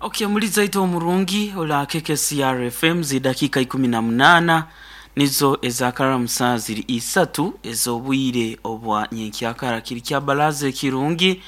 Ok muliza itwe omurungi ola KKCR FM zidakika 18 nizo ezakaramusa ziri isatu ez'obwire obwa nyenkyakara. Kiri kya baraza ekirungi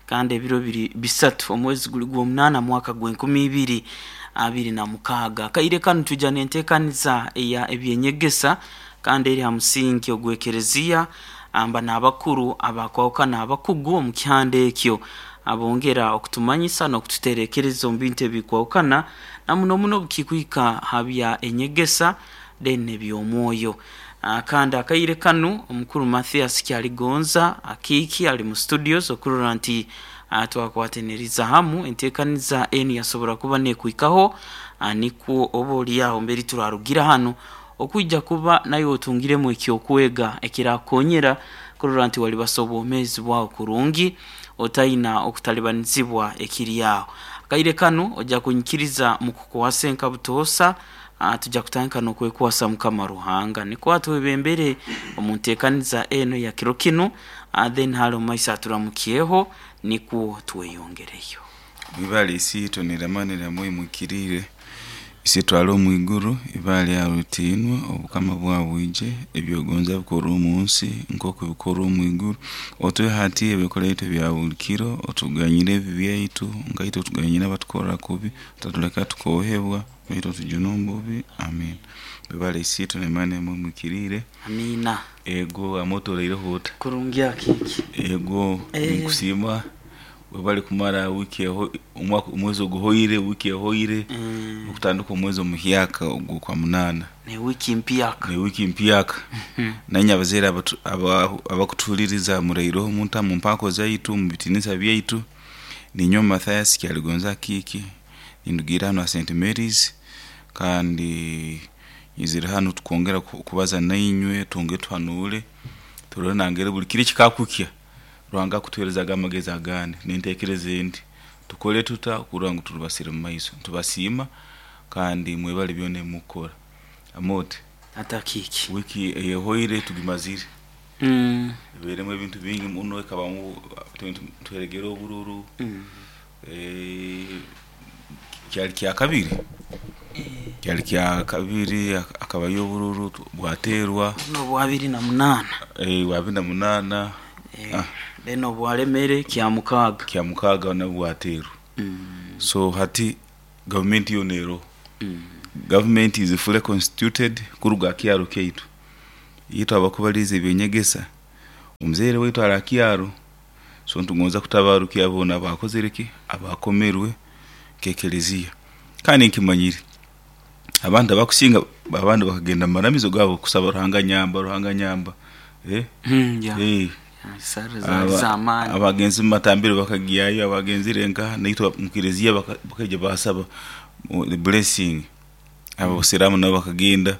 kandi ebiro biri bisatu omwezi guli gw'omunaana mwaka gw'e2026. Akaire kanu twija n'enteekaniza eya eby'enyegesa kandi eri ha musingi ogw'ekereziya amba n'abakuru abakwahukana abakugu omu kihanda ekyo abongera okutumanyisa n'okututerekereza omu bintu ebikwahukana na muno muno obukikwika ha bya enyegesa then n'eby'omwoyo. Kandi akaire kanu omukuru Mathias Kyaligonza Akiiki ali mu studios okurora nti twakwataniriza hamu enteekaniza enu yasobora kuba n'ekwikaho nikwo oba oli aho mberi turarugira hanu okwija kuba naiwe otungiremu eky'okwega ekirakukonyera kurora nti walibasa obwomeezi bwawe kurungi otaina okutalibanizibwa ekiri aho. Akaire kanu oja kunyikiriza mukukwasa enka butoosa tuja kutandika n'okwekwasa Mukama Ruhanga nikwo atwebembere omu nteekaniza enu eya kiro kinu then hale omu maiso aturamukyeho nikwo tweyongereyo. Mwibale Isiitwe n'eramanira mwimukiriire. Isitwe ali omu iguru, ibara lyawe litiinwe, Obukama bwawe bwije, eby'ogonza bikorwe omu nsi nk'oku bikorwa omu iguru. Otuhe hati ebyokulya byaitu ebya buli kiro, otuganyire ebibi byaitu nka itwe tuganyira abatukora kubi, otatuleka tukoohebwa, baitu otujune omu bubi. Amiina. Webale Isiitwe n'emaani emwimukiriire. Amiina. Ego wama otoreireho ota? Kurungi Akiiki. Ego ninkusiima webale kumara wiiki omwaka omwezi oguhoire, wiiki ehoire okutandika omwezi omuhyaka ogw'okwa munaana. N'ewiiki mpyaka. N'ewiiki mpyaka. Nainye abazaire abakutuhuliriza muraireho omu mpaako zaitu, omu bitiinisa byaitu. Ninyowe Mathias Kyaligonza Akiiki, nindugiirra hanu ha St Mary's kandi nyizire hanu kwongera kubaza nainywe twongere tuhanuule turole nangeri buli kiro ekikakukya Ruhanga akutuheerezaga amagezi agandi n'enteekereza endi. Tukole tuta kurora ngu turubasire omu maiso? Nitubasiima kandi mwebale byona ebi mukukora. Amooti, Tata Akiiki. wiiki eyehoire tugimazire. Ebairemu ebintu bingi muno, ekabamu tweregere obururu, kyali kyakabiri, kyali kyakabiri hakabayo obururu bwateerwa. N'obwa abiri na munaana. Bwa abiri na munaana. Then obwa Lemere kyamukaaga. Kyamukaaga nabwo bwateerwa. So hati gavumenti yoona eroho. Gavumenti is fully constituted kuruga aha kyaro kyaitu. Itwe abakubaliiza eby'enyegesa, omuzaire waitu ari aha kyaro, so nitugonza kutabarukya boona abakozire ki? Abakomerwe nk'ekelezia. Kandi nkimanyire abantu abakusinga abandi bakagenda mu maramizo gaabo kusaba Ruhanga nyamba, Ruhanga nyamba. Abagenzi mu matambiro bakagyayo, abagenzire nkaha naitwe omu kelezia bakaija baasaba blessing. Abasiraamu nabo bakagenda.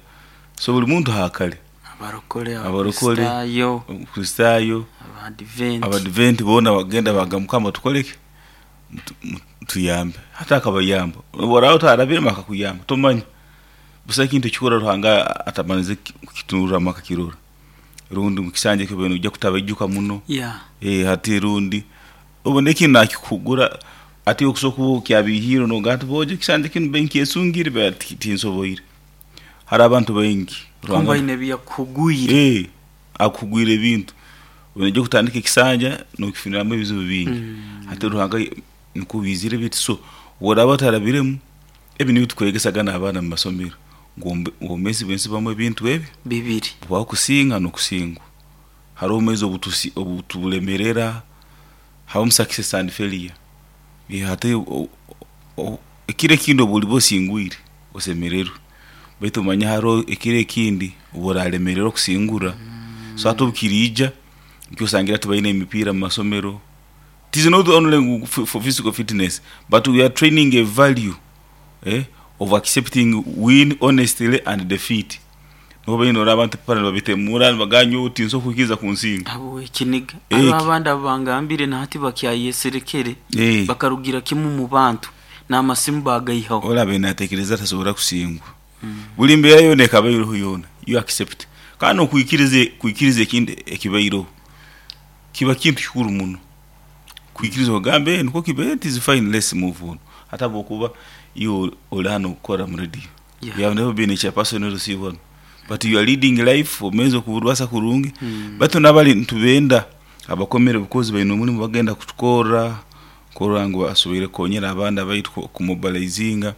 So buli muntu haakare. Abarokole, Abarokole, Abakristaayo, Abakristaayo, Abadiventi. Abadiventi boona bagenda bagamba Mukama tukole ki? Tuyambe. Hati akabayamba. Obu oraaba otarabiremu akakuyamba, tomanya. Busaho ekintu ekikuru Ruhanga atamalize kukitunurramu akakirora. Rundi omu kisanja eki obaire noija kutabaijuka muno. Hati rundi obone ekindi nakikugura hati okusobola kuba okyabiihiirwe nogamba ati boojo ekisanja kinu mbaire nkyesungire baitu tinsoboire. Hariho abantu baingi Kumbe aine ebi yakuhugwire. Akuhugwire ebintu. Noija kutandika ekisanja nokifuniramu ebizibu bingi. Hati Ruhanga nikwo obiizire biti so obu oraaba otarabiremu, ebi nibyo tukwegesaga n'abaana omu masomero ngu obwomeezi bw'ensi bubamu ebintu ebi Bibiri. Bubaho kusinga n'okusingwa. Haroho obwomeezi obutulemerera, habamu success and failure. Hati ekiro ekindi obu oliba osingwire osemererwe baitu omanye haroho ekiro ekindi obu oralemererwa kusingura. So hati obu kiriija nikyo osangira tibaine emipiira omu masomero. It is not only for physical fitness but we are training a value of accepting win honestly and defeat. Niho baine norora abantu epipara nibabitemura nibagamba nyowe tinsobola kwikiriza kunsinga. Habw'ekiniga. Haroho abandi abubangambire na hati bakyayeserekere, bakarugira kimu omu bantu, n'amasimu baagaihaho. Oli abaire natekereza tasobora kusingwa. Buli mbeera yoona ekaba eroho yoona, you accept. Kandi n'okwikiriza kwikiriza ekintu ekibaireho kiba kintu kikuru muno. Kwikiriza ogambe nukwo kibaire it is fine let's move on. Hata bwokuba iwe oli hanu okukora mu radio, Yeah. you have never been a chairperson LC one, but you are leading life, omeze okuburwasa kurungi. Baitu nabali ntubenda abakomere because baine omulimu bagenda kutukorra kurora ngu basoboire kukonyera abandi abaitu kumobilizinga.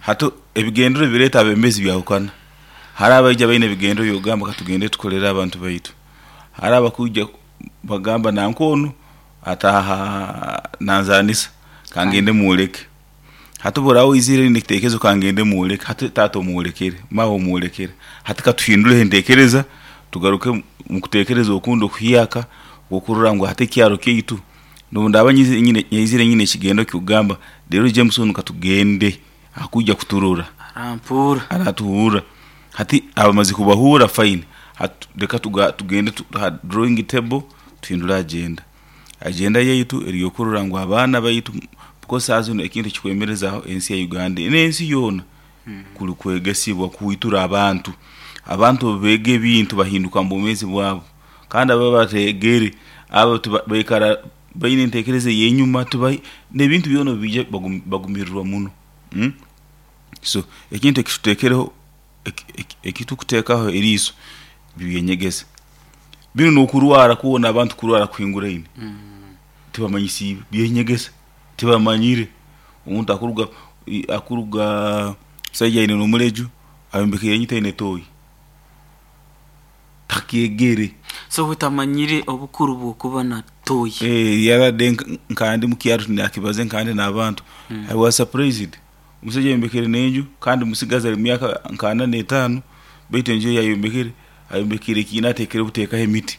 Hati ebigendero bireeta abembezi byahukana. Hari abaija baine ebigendero byokugamba katugende tukolere abantu baitu, hari abakwija bagamba nanka onu ataha nanzanisa kangende mwoleke. Hati bworaba oizire oine ekitekerezo kangende mwoleke, hati taata omwolekere, maawe omwolekere, hati katuhinduleho entekereza tugaruke mukutekereza okundi okuhyaka okurora ngu hati ekyaro kyaitu nobundaba nyizire nyine ekigendo kyokugamba leero Jameson katugende akujja kuturora, Arampura. Aratuhurra. Hati abamaze kubahurra, fine, hati leka tugende ha drawing table tuhindule agenda. Agenda yaitu eri yokurora ngu abaana baitu, because saaha zinu ekintu ekikwemerezaho ensi ya Uganda n'ensi yoona kuli kwegesibwa, kuhwitura abantu. Abantu obu beega ebintu bahinduka omu bwomeezi bwabo, kandi abo abateegere abo baikara baine entekereza ey'enyuma, n'ebintu byona obu biija bagumirirwa muno. So ekintu ekitutekereho, ekitukuteekaho eriiso byenyegesa. Binu n'okurwara kwona, abantu kurwara kuhinguraine tibamanyisiibwe byenyegesa, tibamanyire. Omuntu akuruga musaija aine n'omuleju ayombekere enju taine tooyi, takyegere. So we tamanyire obukuru bw'okuba na toyi. Yarade nkandi mukyaro nakibaze nkandi n'abantu, I was surprised. Omusaija ayombekere n'enju kandi musigazi ali mumyaka nka 45, baitu enju ei ayombekere, ayombekere ekiina atekere buteekaho emiti.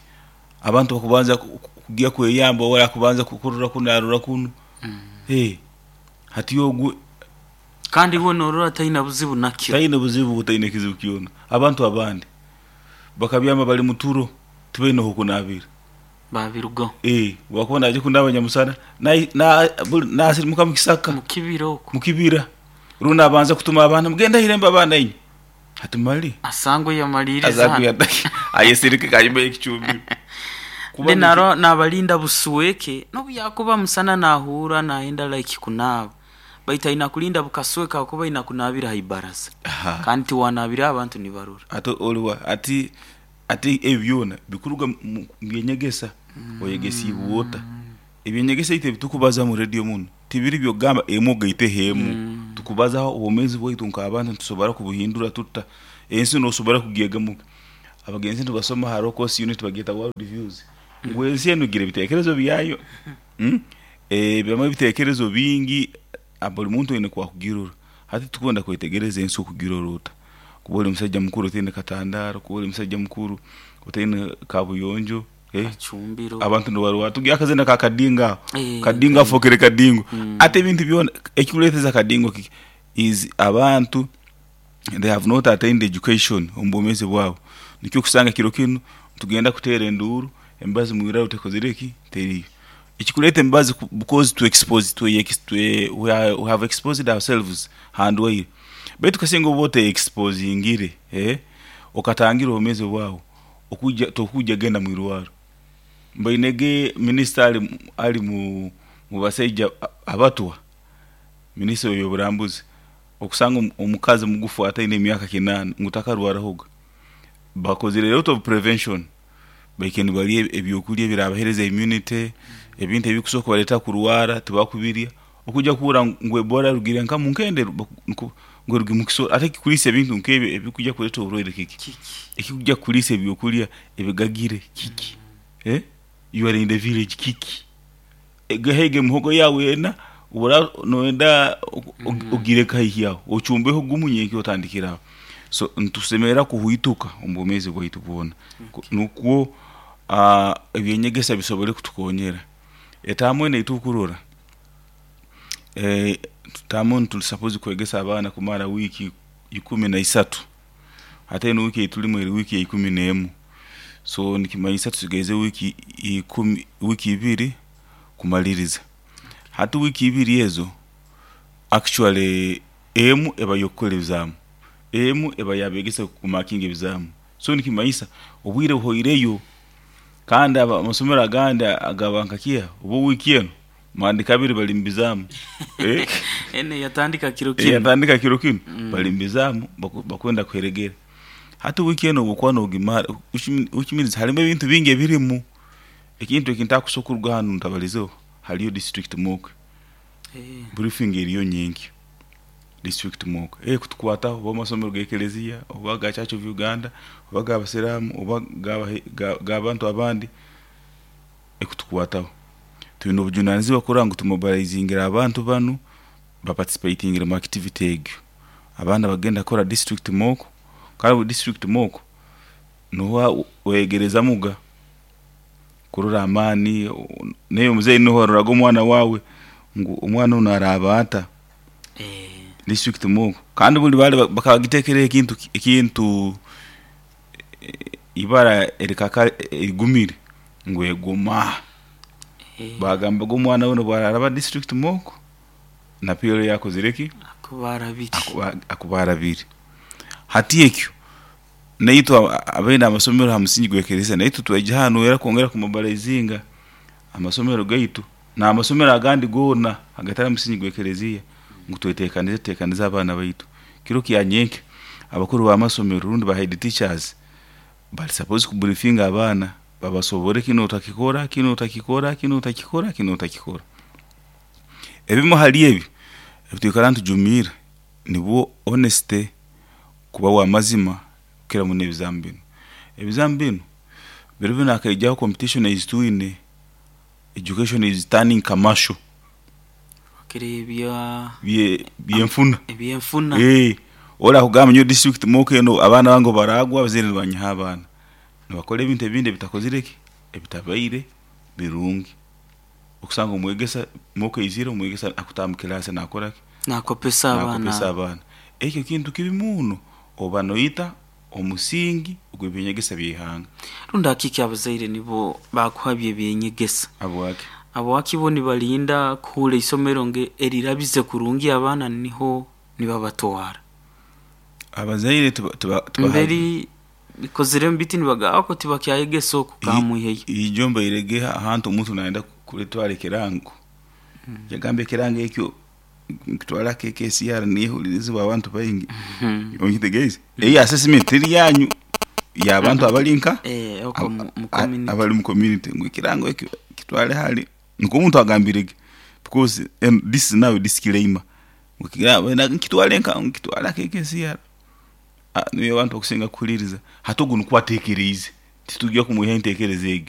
Abantu bakubanza kugya kweyamba ori akubanza kurora kunu arora kunu. Hati ogu Kandi we norora taina buzibu nakyo. Taine buzibu, taine kizibu kyona. Abantu abandi bakabyama bali muturo, tibaine hokunabira. Babirugaho. Wakuba naija kunaaba nyamusana, nasirimuka mukisaka. Mukibira oku. Mukibira. Rundi nabanza kutuma abaana, mugende ahirembe abaana inywe. Hati mali asangwe yamaliriza. Asangwe ayesirike kanyuma y'ekicumbiro. Kuba naro nabalinda busweke, nobu yakuba musana nahura nayenda like kunaaba, baitu aina kulinda bukasweka kuba aina kunabira haibaraza. Kandi tiwanabira abantu nibarora. Ati oliwa ati ebi byona bikuruga mu byenyegesa, oyegesiibwe ota? Ebyenyegesa itwe ebitukubaza mu radio munu tibiri byokugamba emu ogaiteho emu. Tukubazaho obwomeezi bwaitu nk'abantu nitusobora kubuhindura tuta? Ensi nosobora kugyegamu. Abagenzi nibasoma haroho course unit bagyeta world views, ngu ensi enu egira ebitekerezo byayo. Ebamu ebitekerezo bingi, buli muntu aine okwakugirora. Hati tukwenda kwetegereza ensi okugirora ota? Kuba ori musaija mukuru otaine katandaro, kuba ori musaija mukuru otaine kabuyonjo, Kacumbiro. Abantu nibarwara tugire akazina ka kadingo aho, kadingo afokere kadingo. Hati ebintu byona ekikureteza kadingo kiki? Is abantu they have not attained education omu bwomeezi bwabo. Nikyo okusanga kiro kinu tugenda kuteera enduuru emibazi mwiraro tekozire ki? Teriyo. Ekikureeta emibazi because twe expose, we have exposed ourselves ha ndwaire. Baitu kasinga oba ote exposingire, okatangira obwomeezi bwawe, okuja tokuja genda mwirwaro. Mbainege minisita ali mu basaija abatwa, minisita ow'ebyoburambuzi, okusanga omukazi mugufu ataine emyaka 8 ngu takarwarahoga. Bakozire lot of prevention, baikaire nibarya ebyokurya ebirabahereza immunity, ebintu ebikusobora kubareetera kurwara tibakubirya. Okuja kuhurra ngu Ebola erugire nka munkende ngu erugire mukisoro, ate ekikuriisa ebintu nk'ebyo ebikuja kureeta oburwaire kiki? Ekikuja kukuriisa ebyokurya ebigagire kiki? You are in the village kiki? Haiga emihogo yaawe ena, obu noyenda ogireke haihi aho, ocumbeho gumu nyenkya otandikire aho. So nitusemerra kuhwituka omu bwomeezi bwaitu bwona nukwo ebyenyegesa bisobole kutukonyera. Etamu enu eitukurora, tamu enu tuli supposed kwegesa abaana kumara wiiki 13, hati enu wiiki eyitulimu eri wiiki ya 11, so nikimanyisa tusigaize wiiki wiiki ibiri kumaliriza. Hati wiiki ibiri ezo, actually emu eba y'okukora ebizaamu, emu eba y'abegesa kumakinga ebizaamu, so nikimanyisa obwire buhoireyo. Kandi amasomero agandi agaba nka kiha oba wiiki enu. Mandi kabiri bali mubizaamu. Eh? Ene yatandika kiro kinu. Yatandika kiro kinu. Bali mubizaamu bakwenda kuheregera. Hati wiiki enu obwokuba nogimara, which means harimu ebintu bingi ebirimu. Ekintu eki ntakusobola kuruga hanu ntabalizeho, hariyo district mock. Briefing eriyo nyenkya. District mock. Kutukwataho oba amasomero g'ekereziya, oba ga Church of Uganda, oba g'abasiraamu, oba g'abantu abandi, ekutukwataho. Twine obujunanizibwa kurora ngu tumobilizingire abantu banu baparticipatingire mu activity egyo. Abandi abagenda kukora district mock, kandi obu district mock nuho weyegerezamuga kurora amaani, naiwe muzeeyi nuho waroraga omwana waawe ngu omwana onu araaba ata. District mock kandi buli baali bakagitekereho ekintu ibara erikaka erigumire ngu egoma. Bagambaga omwana we obu araraba district mock na PLE yakozire ki? Akuba arabire. Akuba arabire. Hati ekyo naitwe abaine amasomero ha musingi gw'ekereziya naitwe twaija hanu era kwongera kumobilizinga amasomero gaitu n'amasomero agandi goona agatali ha musingi gw'ekereziya ngu twetekanize tutekanize abaana baitu. Kiro kya nyenkya abakuru b'amasomero rundi ba head teachers bali supposed kubriefinga abaana babasobore kinu otakikora, kinu otakikora, kinu otakikora, kinu otakikora. Ebimu hali ebi ebitwikara nitujumirra nibwo honesty, kuba w'amazima kukira muno ebizaamu binu. Ebizaamu binu biro binu hakaijaho competition ezitwine, education is turning commercial. Bakira Byenfuna. Ebyenfuna. Ori akugamba nyowe district mock enu abaana bange obu baraagwa abazaire nibanyiha abaana. Nibakora ebintu ebindi ebitakozire ki? Ebitabaire birungi. Okusanga omwegesa mock eizire omwegesa akutaaha mu kiraasi naakora ki? Nakopesa abaana. Nakopesa abaana. Ekyo kintu kibi muno, oba noita omusingi ogw'ebyenyegesa by'ihanga. Rundi akiki abazaire nibo bakuhabya ebyenyegesa? Habwaki? Habwaki bo nibalinda kuhurra isomero nge erirabize kurungi abaana niho nibabatwara? Abazaire tuba Mberi bikozire biti nibagamba ko tibakyayegesa oku kamwiheyo. Ijo mbairege ahantu omuntu nayenda kuletwara ekirango. Yagamba ekirango ekyo nkitwara KKCR nihulirizibwa abantu baingi. Onkitegeeze? Eyi assessment teri yanyu y'abantu abali nka oko mu community. Abali mu community ngu ekirango ekyo kitwale hali nikwo omuntu agambirege because and this is now a disclaimer. Nkitwale nka nkitwala KKCR. Niyo abantu bakusinga kuhuliriza. Hati ogu nikwo atekereize. Titujya kumwiha entekereza egyo.